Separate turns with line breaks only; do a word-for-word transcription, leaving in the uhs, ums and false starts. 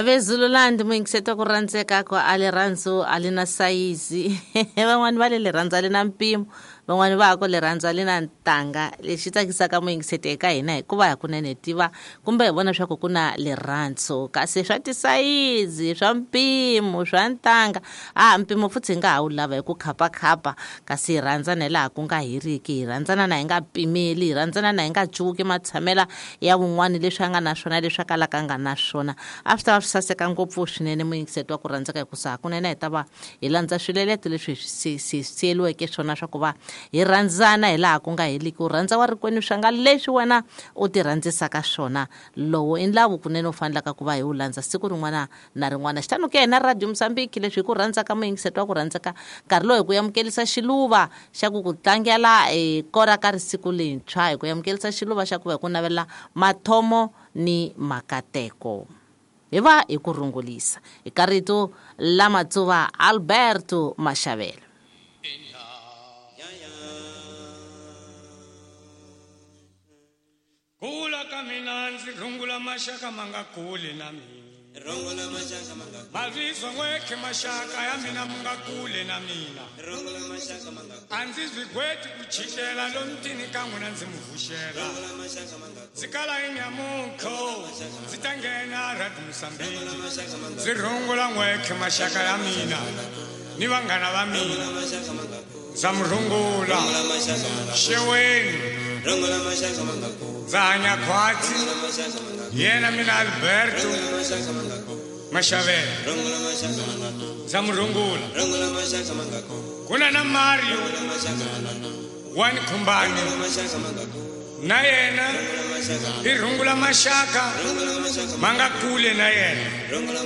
Vezululand muyingiseti ku rhandzeka ku a rirhandzu a li na sayizi van'wani va le rirhandzu a li na mpimo van'wani va ku rirhandzu a li na ntanga lexi tsakisaka muyingiseti eka hina hikuva hakunene hi tiva kumbe hi vona swa ku ku na rirhandzu kasi swa tisayizi swa mpimo swa ntanga a mpimo futhi hi nga ha wu lava hi ku khapakhapa kasi hi rhandzana hi laha ku nga heriki hi rhandzana na hi nga pimeli hi rhandzana na hi nga cuki matshamela ya wun'wani leswi a nga na swona leswi a kalaka a nga na swona a swi ta va swi saseka ngopfu swinene muyingiseti wa ku rhandzeka hikusa hakunene hi ta va hi landza swileleto leswi hi swi siyeliweke swona swa ku va hi rhandzana hi laha ku nga heliki u rhandza wa rikwenu swa nga leswi wena u ti rhandzisaka swona lowo i ndlawu kunene u fanelaka ku va hi wu landza siku rin'wana na rin'wana xitano ke hina Radio Mozambique leswi hi ku rhandzaka muyingiseti wa ku rhandzeka nkarhi lowu hi ku amukelisa xiluva xa ku ku tlangela e kora ka risiku lentshwa hi ku amukelisa xiluva xa ku va hi ku navela mathomo ni makateko hi va hi ku rungulisa eka rito la Matsuva Alberto Mashavela.
Kula ka mina ndzi rungula maxaka ma nga kuli na mina
rungula maxaka ma nga
mavizwa n'wekhe maxaka ya mina mu nga kule na mina
rungula maxaka ma nga
a ndzi swi gweti ku chikela lomutini ka n'wina ndzi mu vuxela
rungula maxaka ma nga
ndzi kala inyamunkho ndzi ta nghena Radio Mozambique
maxaka ma nga
ndzi rungula n'wekhe maxaka ya mina ni vanghana va mina
maxaka ma nga
ndza mu rungula
maxaka ma nga
xeweni
rungula maxaka ma nga
ndza hanya khwatsi
maxaka ma nga
yena mina Alberto
maxaka ma nga
Mashavela
rungula maxaka ma nga
ndza mu rungula
rungula maxaka ma nga
ku na na Mario
maxaka ma nga
wa ni Khumbani
maxaka ma nga
na yena
maxaka
i rungula maxaka
rungula maxaka
ma nga kule na yena
rungula